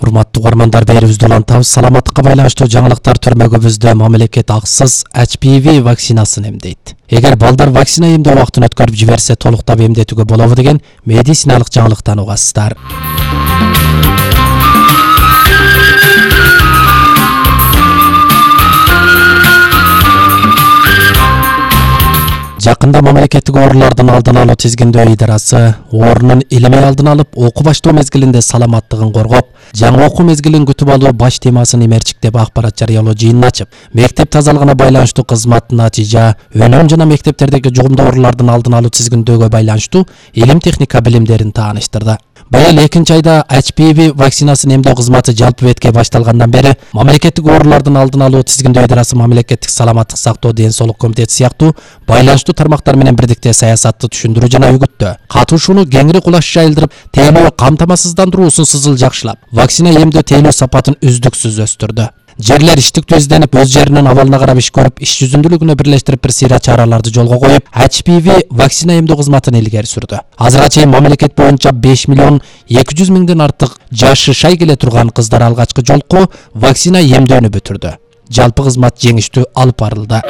Урматтуу угармандар, берүүбүздү улантабыз. Саламаттыкка байланыштуу жаңылыктар төрмөгүбүздө мамлекет акысыз HPV вакцинасын эмдейт. Эгер балдар вакцина эмдөө убактын өткөрүп жиберсе, толуктап эмдетүүгө болобу деген медициналык жаңылыктан угасыздар. Жакында мамлекеттик оорулардын алдын алуу тизгиндөө идарасы оорунун илимий алдын алып, окуу баштоо мезгилинде саламаттыгын коргоп, жаңы окуу мезгилин күтүп алуу баш темасын имерчик деп акбарат жарыялоо жыйынын ачып, мектеп тазалыгына байланыштуу кызмат натыйжа, өнүм жана мектептердеги жугумдуу оорулардын алдын алуу тизгиндөөгө байланыштуу илим техника билимдерин тааныштырды. Быйыл 2 айда HPV вакцинасын эмдөө кызматы жалпы бетке башталгандан бери мамлекеттик оорулардын алдын алуу тизгиндөө идарасы мамлекеттик саламаттык сактоо ден соолук комитети сыяктуу байланыштуу тармактар менен бирдикте саясатты түшүндүрүү жана үгүттөө, катышууну кеңири кулаш жайылдырып, тейлөө камтамасыздандыруусун сызыл жакшылап, вакцина эмдөө тейлөө сапатын үздүксүз өстүрдү. Жерлер иштиктүү изденип, өз жеринин абалына карап иш көрүп, иш жүзүндүүлүгүнө бирлештирип бир сыйра чараларды жолго коюп, HPV вакцина эмдөө кызматын илгери сүрдү. Азырга чейин мамлекет боюнча 5 миллион 200 миңден артык жашы шай келе турган кыздар алгачкы жолку вакцина эмдөөнү бүтүрдү. Жалпы кызмат жеңиштүү алып барылды.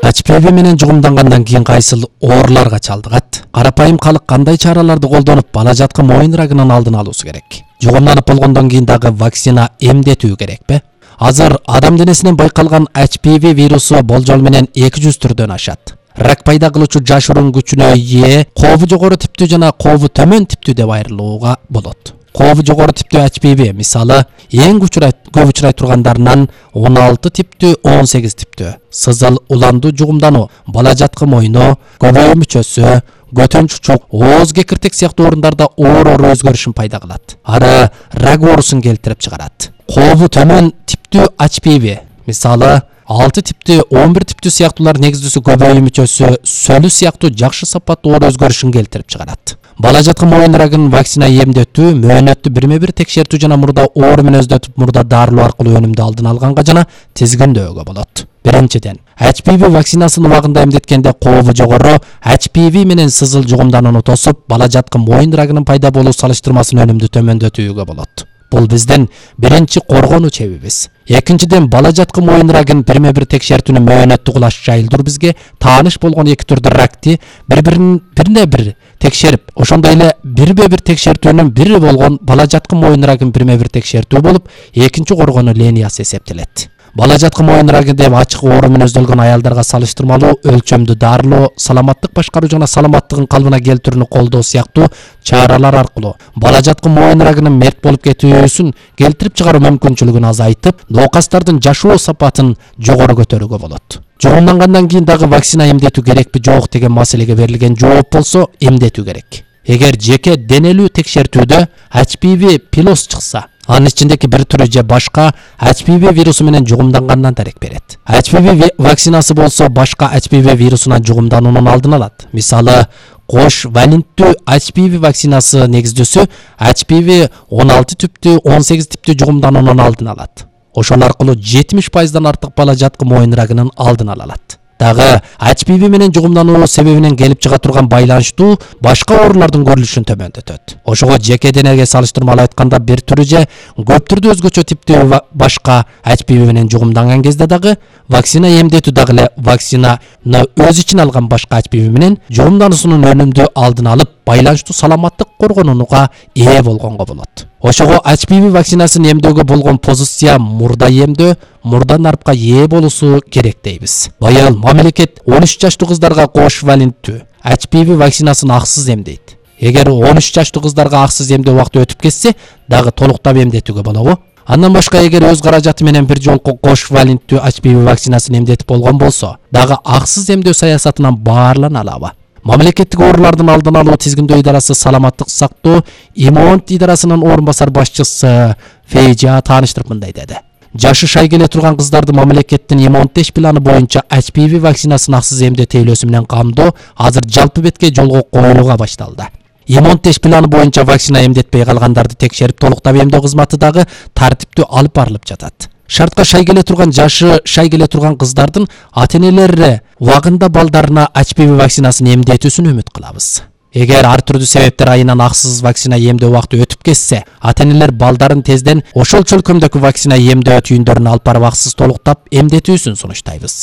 HPV менен жугумдангандан кийин кайсыл ооруларга чалдыгат? Карапайым калык кандай чараларды колдонуп, бала жаткы моюн рагынын алдын алуусу керек? Жугумданып болгондон кийин дагы вакцина эмдетүү керекпи? Азыр адам денесинен байкалган HPV вирусу болжол менен 200 түрдөн ашат. Рак пайда кылуучу жашыруун күчүнө ээ, кообу жогору типтүү жана кообу төмөн типтүү деп айрылууга болот. Кообу жогору типтүү HPV мисалы эң көп учурай тургандарынан 16 типтүү, 18 типтүү сызыл уландуу жугумдануу, бала жаткы моюну, көбөйүү мүчөсү, көтөн чучук, ооз кекиртек сыяктуу орундарда оор өзгөрүшүн пайда кылат. Ары рак оорусун келтирип чыгарат. Кообу төмөн типтүү HPV мисалы 6 типтүү, 11 типтүү сыяктуулар негиздүүсү көбөйүү мүчөсү, сөлү сыяктуу жакшы сапаттуу оор өзгөрүшүн келтирип чыгарат. Бала жаткы моюн рагын вакцина эмдетүү, мөөнөттү бирме-бир текшертүү жана мурда оору менен өздөтүп, мурда дарылоо аркылуу өнүмдү алдын алганга жана тизгиндөөгө болот. Биринчиден, HPV вакцинасын убагында эмдеткенде кообу жогору HPV менен сызыл жугумданууну тосуп, бала жаткы моюн рагынын пайда болуу салыштырмасын өнүмдү төмөндөтүүгө болот. Бул биздин биринчи коргонуу чебибиз. Экинчиден, бала жаткы моюн рагын бирме-бир текшертүүнү мөөнөттү кулаш жайылдыр бизге тааныш болгон эки түрдүү ракты бирине бир текшерип, ошондой эле бирме-бир текшертүүнүн бири болгон бала жаткы моюн рагын бирме-бир текшертүү болуп, экинчи коргонуу линиясы эсептелет. Бала жаткы моюн рагы деп ачык оору менен өздөлгөн аялдарга салыштырмалуу өлчөмдүү дарылоо, саламаттык башкаруу жана саламаттыгын калыбына келтирүүнү колдоо сыяктуу чаралар аркылуу бала жаткы моюн рагынын мерт болуп кетүүсүн келтирип чыгаруу мүмкүнчүлүгүн азайтып, ноокастардын жашоо сапатын жогору көтөрүүгө болот. Жугумдангандан кийин дагы вакцина эмдетүү керекпи жок деген маселеге берилген жооп болсо, эмдетүү керек. Эгер жеке денелүү текшертүүдө HPV пилос чыкса, анын ичиндеги бир түрү же башка HPV вирусу менен жугумдангандан дарек берет. HPV вакцинасы болсо башка HPV вирусунан жугумдануунун алдын алат. Мисалы, кош валенттүү HPV вакцинасы негиздүүсү HPV 16 типтүү, 18 типтүү жугумдануунун алдын алат. Ошол аркылуу 70% артык бала жаткы моюн рагынын алдын ала алат. Дагы HPV менен жугумдануу себебинен келип чыга турган байланыштуу башка оорулардын көрүлүшүн төмөндөтөт. Ошого жеке денеге салыштырмалуу айтканда бир түрү же көп түрдүү өзгөчө типтүү башка HPV менен жугумданган кезде дагы вакцина эмдетүү дагы эле вакцинаны өз ичине алган башка HPV менен жугумдануусунун өнүмдү алдын алып, байланыштуу саламаттык коргонууга ээ болгонго болот. Ошого HPV вакцинасын эмдөөгө болгон позиция мурда эмдөө, мурда нарпка ээ болуусу керек дейбиз. Быйыл мамлекет 13 жаштуу кыздарга кош валенттүү HPV вакцинасын акысыз эмдейт. Эгер 13 жаштуу кыздарга акысыз эмдөө убакыты өтүп кетсе, дагы толуктап эмдетүүгө болобу? Андан башка, эгер өз каражаты менен бир жолку кош валенттүү HPV вакцинасын эмдетип болгон болсо, дагы акысыз эмдөө саясатынан баарлана алабы? Мамлекеттик оорулардын алдын алуу тизгиндөө идарасы саламаттык сактоо иммунит идарасынын орун басар башчысы Фейжа тааныштырып мындай деди. Жашы шай келе турган кыздарды мамлекеттин иммунитет планы боюнча HPV вакцинасын акысыз эмдөө тейлөөсү менен камдоо азыр жалпы бетке жолго коюлууга башталды. Иммунитет планы боюнча вакцина эмдетпей калгандарды текшерип толуктап эмдөө кызматы дагы тартиптүү алып барылып жатат. Шартка шай келе турган жашы шай келе турган кыздардын ата-энелери убагында балдарына HPV вакцинасын эмдетүүсүн үмүт кылабыз. Эгер ар түрдүү себептер айынан акысыз вакцина эмдөө убакыты өтүп кетсе, ата-энелер балдарын тезден ошол чөлкөмдөгү вакцина эмдөө түйүндөрүнө алып барып акысыз толуктап эмдетүүсүн сунуштайбыз.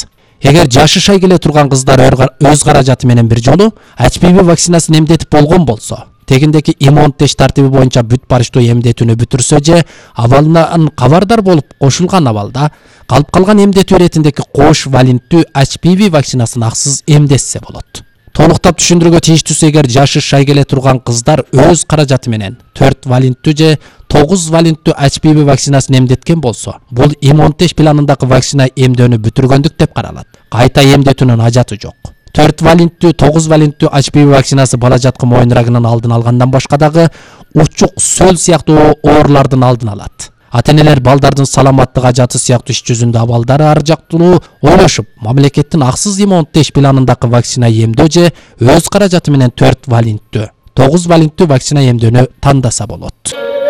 Эгер жашашай келе турган кыздар өз каражаты менен бир жолу HPV вакцинасын эмдетип болгон болсо, тегиндеки иммунтеш тартиби боюнча бүт барыштуу эмдетүүнү бүтүрсө же абалынан кабардар болуп кошулган абалда калып калган эмдетүү иретиндеги кош валенттүү HPV вакцинасын акысыз эмдетсе болот. Толуктап түшүндүрүүгө тийиштүүсү, эгер жашашай келе турган кыздар өз каражаты менен 4 валенттүү же 9 валенттүү HPV вакцинасын эмдеткен болсо, бул иммунтеш планындагы вакцина эмдөөнү бүтүргөндүк деп каралат. Кайта эмдетүүнүн ажаты жок. 4 валенттүү, 9 валенттүү HPV вакцинасы бала жаткы моюн рагынын алдын алгандан башка дагы учук, сөл сыяктуу оорулардын алдын алат. Ата-энелер балдардын саламаттык ажаты сыяктуу иш жүзүндө абалдары ар жактуу ойлошуп, мамлекеттин акысыз иммунтеш планындагы вакцина эмдөө же өз каражаты менен 4 валенттүү, 9 валенттүү вакцина эмдөөнү тандаса болот.